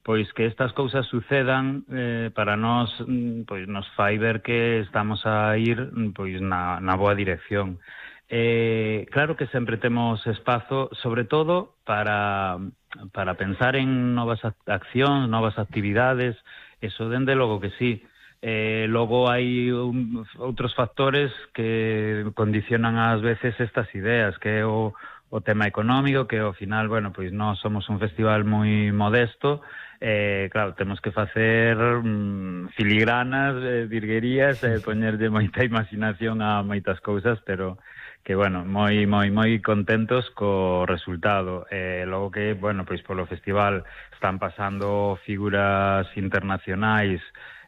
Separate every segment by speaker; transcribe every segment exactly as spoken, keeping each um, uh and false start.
Speaker 1: pois que estas cousas sucedan eh, para nós, pois nos fai ver que estamos a ir pois na, na boa dirección. Eh, claro que sempre temos espazo, sobre todo para, para pensar en novas accións, novas actividades, eso dende logo que sí. Eh, logo hai un, outros factores que condicionan ás veces estas ideas, que é o, o tema económico, que ao final, bueno, pois nós somos un festival moi modesto, eh, claro, temos que facer mm, filigranas, eh, virguerías, eh, poñerlle moita imaginación a moitas cousas, pero que, bueno, moi moi moi contentos co resultado. Eh, logo que, bueno, pois polo festival están pasando figuras internacionais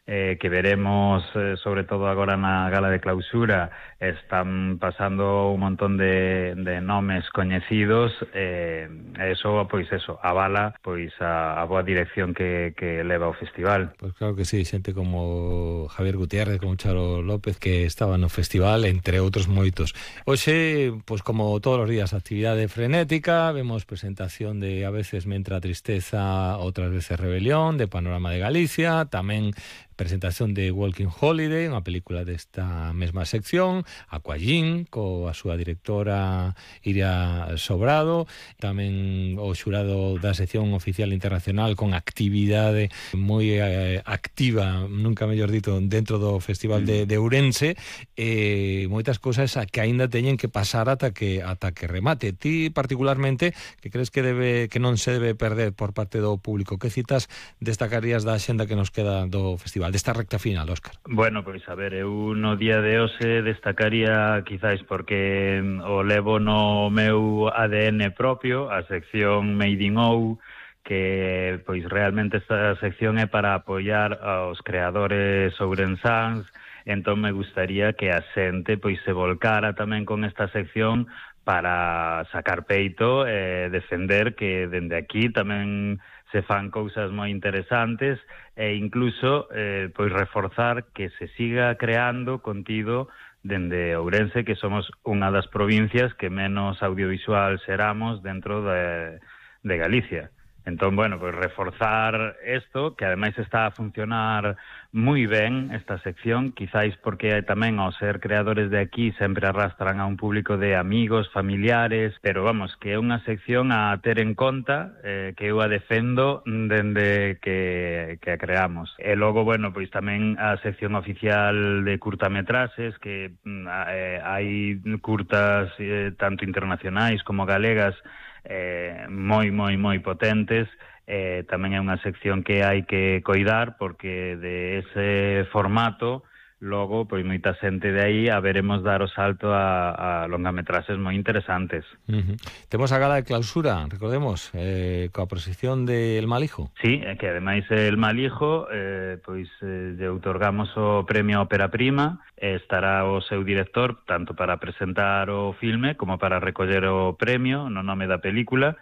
Speaker 1: eh, que veremos eh, sobre todo agora na gala de clausura. Están pasando un montón de, de nomes coñecidos, eh, eso, pois eso, avala pois a, a boa dirección que, que leva o festival.
Speaker 2: Pois claro que sí, xente como Javier Gutiérrez, como Charo López, que estaba no festival, entre outros moitos. Hoxe, pois como todos os días, actividade frenética, vemos presentación de A veces me entra tristeza, outras veces rebelión, de Panorama de Galicia, tamén presentación de Walking Holiday, unha película desta mesma sección, Aquallín, coa súa directora Iria Sobrado, tamén o xurado da sección oficial internacional con actividade moi eh, activa, nunca mellor dito, dentro do Festival de, de Ourense, e eh, moitas cousas que aínda teñen que pasar ata que ata que remate. Ti particularmente, que crees que debe que non se debe perder por parte do público, que citas destacarías da axenda que nos queda do festival, desta recta final, Óscar?
Speaker 1: Bueno, pois a ver, eu no día de hoxe destacaría quizáis porque o levo no meu A D N propio, a sección Made in Ou, que pois realmente esta sección é para apoiar aos creadores ourensáns. Entón me gustaría que a xente pois se volcara tamén con esta sección para sacar peito e defender que dende aquí tamén se fan cousas moi interesantes e incluso eh, pois reforzar que se siga creando contido dende Ourense, que somos unha das provincias que menos audiovisual seramos dentro de, de Galicia. Entón, bueno, pois reforzar isto, que ademais está a funcionar moi ben esta sección, quizáis porque tamén ao ser creadores de aquí sempre arrastran a un público de amigos, familiares, pero vamos, que é unha sección a ter en conta, eh, que eu a defendo dende que, que a creamos. E logo, bueno, pois tamén a sección oficial de curtametraxes, que eh, hai curtas eh, tanto internacionais como galegas, eh, moi, moi, moi potentes. Eh, tamén é unha sección que hai que coidar porque de ese formato logo, pois moita xente de aí a veremos dar o salto a, a longametraxes moi interesantes.
Speaker 2: Uh-huh. Temos a gala de clausura, recordemos, eh, coa proxección de El Malijo.
Speaker 1: Sí, que ademais El Malijo eh, pois eh, lle outorgamos o premio Ópera Prima, eh, estará o seu director tanto para presentar o filme como para recoller o premio no nome da película,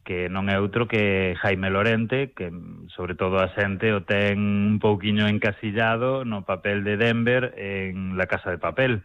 Speaker 1: que non é outro que Jaime Lorente, que sobre todo a xente o ten un pouquiño encasillado no papel de Denver en La Casa de Papel.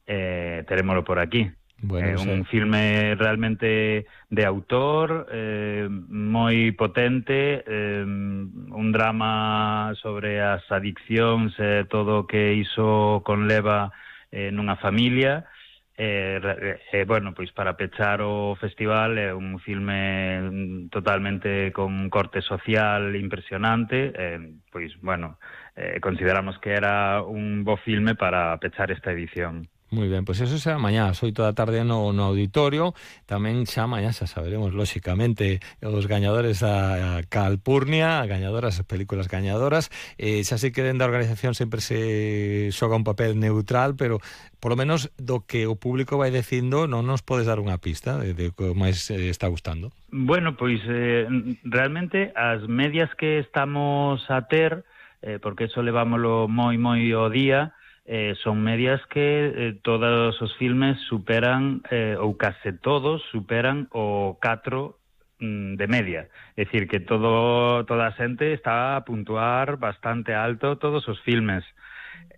Speaker 1: Eh, terémolo por aquí.
Speaker 2: Bueno,
Speaker 1: eh, un sí. filme realmente de autor, eh, moi potente, eh, un drama sobre as adiccións e eh, todo o que iso conleva eh, nunha familia. Eh, eh, bueno, pois para pechar o festival é un filme totalmente con corte social impresionante, eh, pois, bueno, eh, consideramos que era un bo filme para pechar esta edición.
Speaker 2: Moi ben, pois eso será mañá ás oito da tarde no, no auditorio. Tamén xa mañá xa saberemos, lóxicamente, os gañadores da Calpurnia, gañadoras, as películas gañadoras. Eh, xa sei que dentro da organización sempre se xoga un papel neutral, pero polo menos do que o público vai dicindo non nos podes dar unha pista de, de que máis eh, está gustando.
Speaker 1: Bueno, pois eh, realmente as medias que estamos a ter, eh, porque eso levámoslo moi moi ao día, Eh, son medias que eh, todos os filmes superan, eh, ou case todos superan o catro mm, de media. É dicir, que todo toda a xente está a puntuar bastante alto todos os filmes.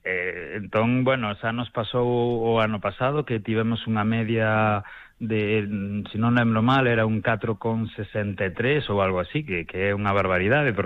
Speaker 1: Eh, entón, bueno, xa nos pasou o ano pasado que tivemos unha media de, se non lembro mal, era un catro con sesenta e tres ou algo así, que, que é unha barbaridade, porque